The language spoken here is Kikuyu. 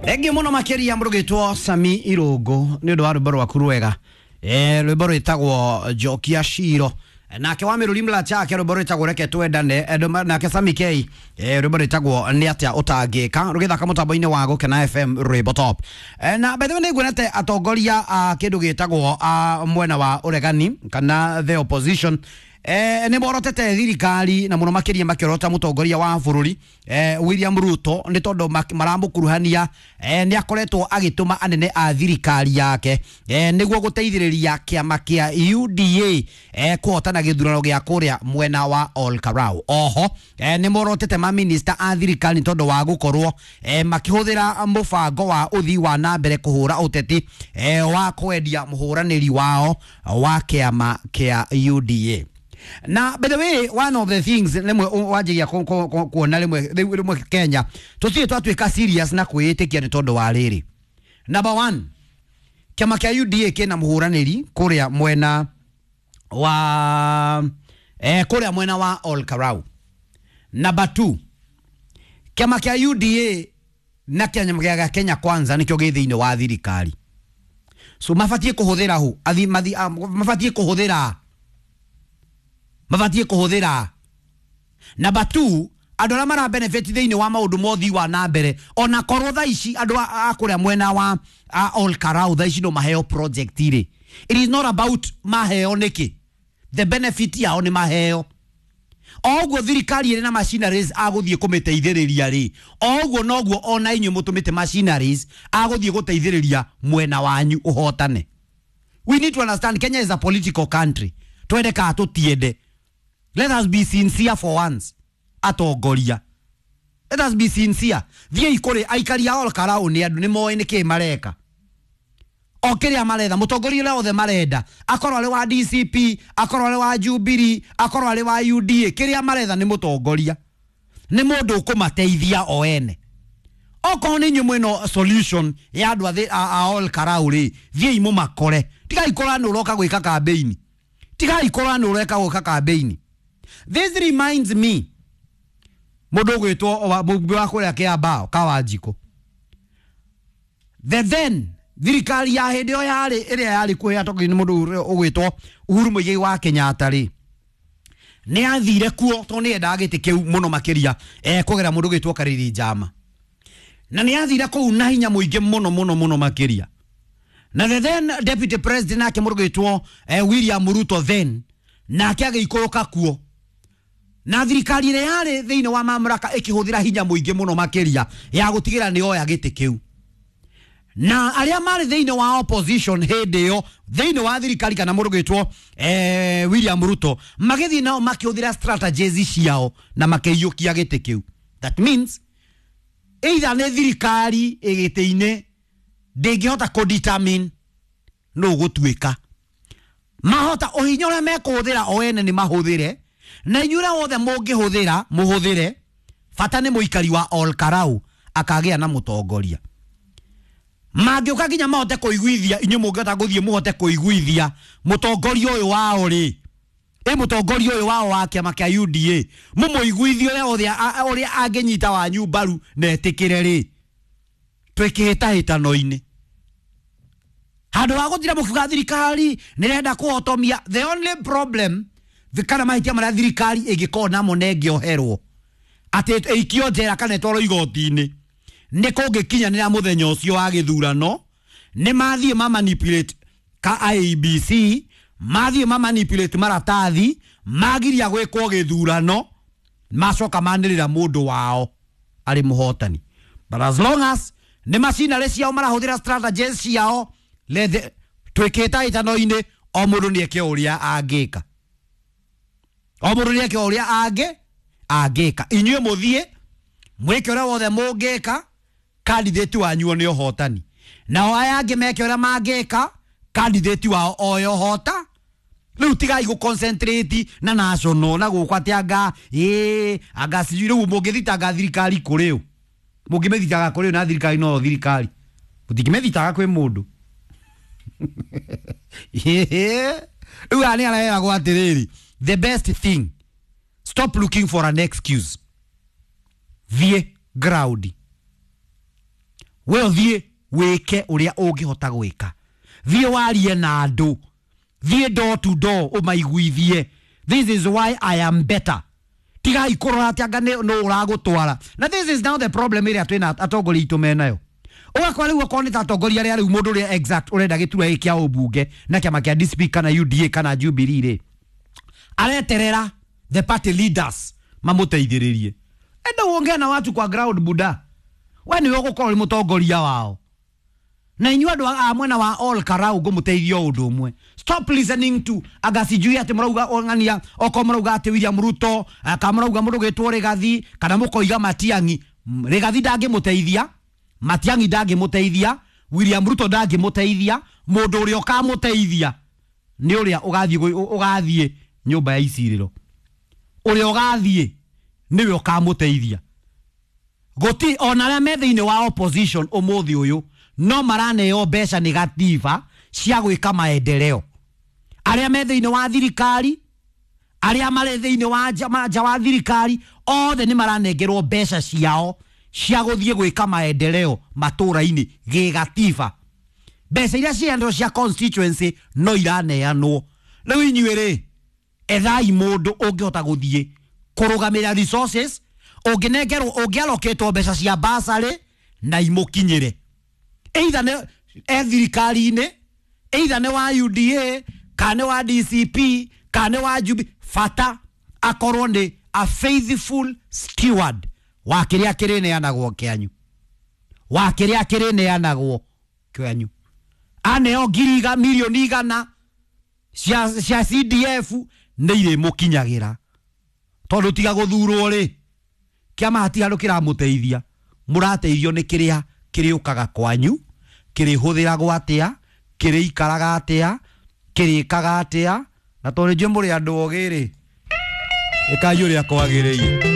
Thengiũ mũno makĩria mũrũgĩtwo Sami Irũngũ nĩ ũndũ wa rwĩmbo rwaku rwega, rwĩmbo rwĩtagwo Njokia Ciro. Nake wa Mĩrũri Mlachake rwĩmbo rwĩtagwo Reke Twendane. Nake Sami K, rwĩmbo rwĩtagwo Nĩ Atĩa Ũtangĩka, rũgĩthaka mũtambo-inĩ wa Gũkena FM rwĩmbo top. Na by the way, nĩnguonete atongoria a kĩndũ gĩtagwo a mwena wa ũregani kana the opposition, nĩ morotete thirikari na mũno makĩria makĩorota mũtongoria wa bũrũri, William Ruto, nĩ tondũ maramũkuruhania, nĩ akoretwo agĩtũma anene a thirikari yake, nĩguo gũteithĩrĩria kĩama kĩa UDA, kũhotana gĩthurano gĩa kũrĩa mwena wa Ol Kalou. Oho, nĩ morotete maminista a thirikari nĩ tondũ wa gũkorwo, makĩhũthĩra mũbango wa ũthii wa na mbere kũhũra ũteti, wa kwendia mũhũranĩri wao wa kĩama kĩa UDA. Na by the way, one of the things rĩmwe wanjagia kuona rĩmwe rĩu rĩmwe Kenya tũtirĩ twatuĩka serious na kwĩĩtĩkia nĩ tondũ wa rĩrĩ. Number one, kĩama kĩa UDA kĩna mũhũranĩri kũrĩa mwena wa kũrĩa mwena wa Ol Kalou. Number two, kĩama kĩa UDA na kĩama gĩa Kenya Kwanza nĩkĩo gĩ thĩinĩ wa thirikari, so mabatiĩ kũhũthĩra hu athi mathi mabatiĩ kũhũthĩra. Number two, andũ arĩa mara benefit thĩinĩ wa maũndũ ma ũthii wa na mbere, ona korwo thaa ici andũ a kũrĩa mwena wa a Ol Kalou thaa ici no maheo project rĩ, it is not about maheo nĩkĩ, the benefit yao nĩ maheo. O ũguo thirikari ĩrĩ na machineries agũthiĩ kũmĩteithĩrĩria rĩ, o ũguo noguo ona inyuĩ mũtũmĩte machineries agũthiĩ gũteithĩrĩria mwena wanyu ũhotane. We need to understand Kenya is a political country, twende kana tũtiende. Let us be sincere for once, atongoria, let us be sincere. Thiĩi kũrĩ aikari a Ol Kalou, nĩ andũ nĩ moĩ nĩkĩ mareka o kĩrĩa maretha. Mũtongoria ũrĩa othe marenda, akorwo arĩ wa DCP, akorwo arĩ wa Jubilee, akorwo arĩ wa UDA, kĩrĩa maretha nĩ mũtongoria, nĩ mũndũ ũkũmateithia o ene. Okorwo nĩ inyuĩ mwĩna solution ya andũ a Ol Kalou rĩ, thiĩi mũmakore. Tigai kũra nĩ ũroka gwĩka campaign, tigai kũra nĩ ũreka gwĩka campaign. This reminds me mũndũ ũgwĩtwo mũmbunge wa kũrĩa Kĩambao, Kawanjikũ. The then thirikari ya hĩndĩ ĩyo yarĩ ĩrĩa yarĩ kuo yatongoririo nĩ mũndũ ũrĩa ũgwĩtwo Uhuru Muigai wa Kenyatta rĩ, nĩ athire kuo tondũ nĩ endaga gĩtĩ kĩu mũno makĩria, kũgera mũndũ ũgwĩtwo Kariri Njama, na nĩ athire kũu na hinya mũingĩ mũno mũno mũno makĩria. Na the then deputy president nake mũndũ ũgwĩtwo, William Ruto then, nake agĩikũrũka kuo na thirikari ĩrĩa yarĩ thĩinĩ wa mamlaka ĩkĩhũthĩra hinya mũingĩ mũno makĩria ya gũtigĩra nĩ oya gĩtĩ kĩu. Na arĩa marĩ thĩinĩ wa opposition hĩndĩ ĩyo thĩinĩ wa thirikari kana mũndũ gwĩtwo, William Ruto, magĩthiĩ nao makĩhũthĩra strategies ciao na makĩiyũkia gĩtĩ kĩu. That means either nĩ thirikari ĩgĩtĩ-inĩ ndĩngĩhota kũ-determine nũ gũtuĩka mahota ũhinya ũrĩa mekũhũthĩra o ene nĩ mahũthĩre, na inyuĩ ũrĩa wothe mũngĩhũthĩra mũhũthĩre, bata nĩ mũikari wa Ol Kalou akagĩa na mũtongoria. Mangĩũka nginya mahote kũiguithia inyuĩ, mũngĩhota gũthiĩ mũhote kũiguithia mũtongoria ũyũ wao rĩ, ĩ mũtongoria ũyũ wao wa kĩama kĩa UDA, mũmũiguithie ũrĩa othe ũrĩa angĩnyita wanyu mbaru na etĩkĩre rĩ, twĩ kĩhĩtahĩtano-inĩ handũ ha gũtira mũkiuga thirikari nĩrenda kũhotomia. The only problem kana mahĩtia marĩa thirikari ĩngĩkorwo namo na ĩngĩoherwo atĩ ĩikio njera kana ĩtwarwo igoti-inĩ nĩ kũngĩkinyanĩra mũthenya ũcio wa gĩthurano, nĩ mathiĩ ma manipulate ka IEBC, mathiĩ ma manipulate maratathi, magiria gwĩkwo gĩthurano, macoka manĩrĩra mũndũ wao arĩ mũhotani. But as long as nĩ macinarĩ ciao marahũthĩra strategies ciao, lethe twĩkĩta ĩtano-inĩ, o mũndũ nĩ eke ũrĩa angĩka, o mũndũ nĩ eke ũrĩa angĩka. Inyuĩ mũthiĩ mwĩke ũrĩa wothe mũngĩka, candidate wanyu nĩ ũhotani, nao aya angĩ meke ũrĩa mangĩka, candidate wao oyo hota. Rĩu tigai gũ concentrate na national na gũkũ atĩ anga ĩ anga sijui. Rĩu mũngĩthitanga thirikari kũrĩ ũ? Mũngĩmĩthitanga kũrĩ ũ na thirikari no thirikari mũtingĩmĩthitanga kwĩ mũndũ. Rĩu haha nĩ areragwo atĩrĩrĩ, the best thing, stop looking for an excuse, thiĩ ground. We ũthiĩ wĩke ũrĩa ũngĩhota gwĩka, thiĩ warie na andũ, thiĩ door to door ũmaiguithie, "This is why I am better." Tigai kũrora atĩ anga nũ ũragũtwara. Na this is now the problem ĩrĩa twĩna atongoria aitũ menayo. Ũgakora rĩu okorwo nĩ ta atongoria arĩa rĩu mũndũ ũrĩa exact ũrenda gĩturwa gĩkĩ kĩa ũmbunge na kĩama kĩa DCP kana UDA kana Jubilee rĩ, areterera the party leaders mamũteithĩrĩrie. Enda uongea na watu kwa ground, buda. We nĩwe ũgũkorwo ũrĩ mũtongoria wao. Na inyuĩ andũ a mwena wa Ol Kalou, ngũmũteithia o ũndũ ũmwe: stop listening to anga sijui atĩ mũrauga ng'ania, okorwo mũrauga atĩ William Ruto, kana mũrauga mũndũ gwĩtwo Rigathi, kana mũkoiga Matiang'i. Rigathi ndangĩmũteithia, Matiang'i ndangĩmũteithia, William Ruto ndangĩmũteithia. Mũndũ ũrĩa ũkamũteithia nĩ ũrĩa ũgathiĩ ũgathiĩ nyũmba ya icirĩro. Ũrĩa ũgathiĩ nĩwe ũkamũteithia. Gũti ona arĩa me thĩinĩ wa opposition ũmũthĩ ũyũ no maraneo mbeca nĩ gatiba cia gwĩka maendeleo. Arĩa me thĩinĩ wa thirikari, arĩa marĩ thĩinĩ wa nja wa thirikari, othe nĩ maranengerwo mbeca ciao cia gũthiĩ gwĩka maendeleo matũra-inĩ gĩgatiba. Mbeca iria ciendwo cia constituency no iraneanwo. Rĩu inyuĩ rĩ, ethai mũndũ ũngĩhota gũthiĩ kũrũgamĩrĩra resources, ũngĩnengerwo, ũngĩalokĩtwo mbeca cia basarĩ na imũkinyĩre, either nĩ e thirikari-inĩ, either nĩ wa UDA kana nĩ wa DCP kana nĩ wa Jubilee, bata akorwo nĩ a faithful steward wa kĩrĩa kĩrĩneanagwo kĩanyu, wa kĩrĩa kĩrĩneanagwo kĩanyu. Aneo ngiri milioni 100 cia CDF nĩ irĩmũkinyagĩra, tondũ tiga gũthurwo rĩ, kĩama hatirĩ handũ kĩramũteithia. Mũrateithio nĩ kĩrĩa kĩrĩũkaga kwanyu, kĩrĩhũthĩragwo atĩa, kĩrĩikaraga atĩa, kĩrĩkaga atĩa. Na tondũ njũĩ mũrĩ andũ ogĩ rĩ, ĩkai ũrĩa kwagĩrĩire.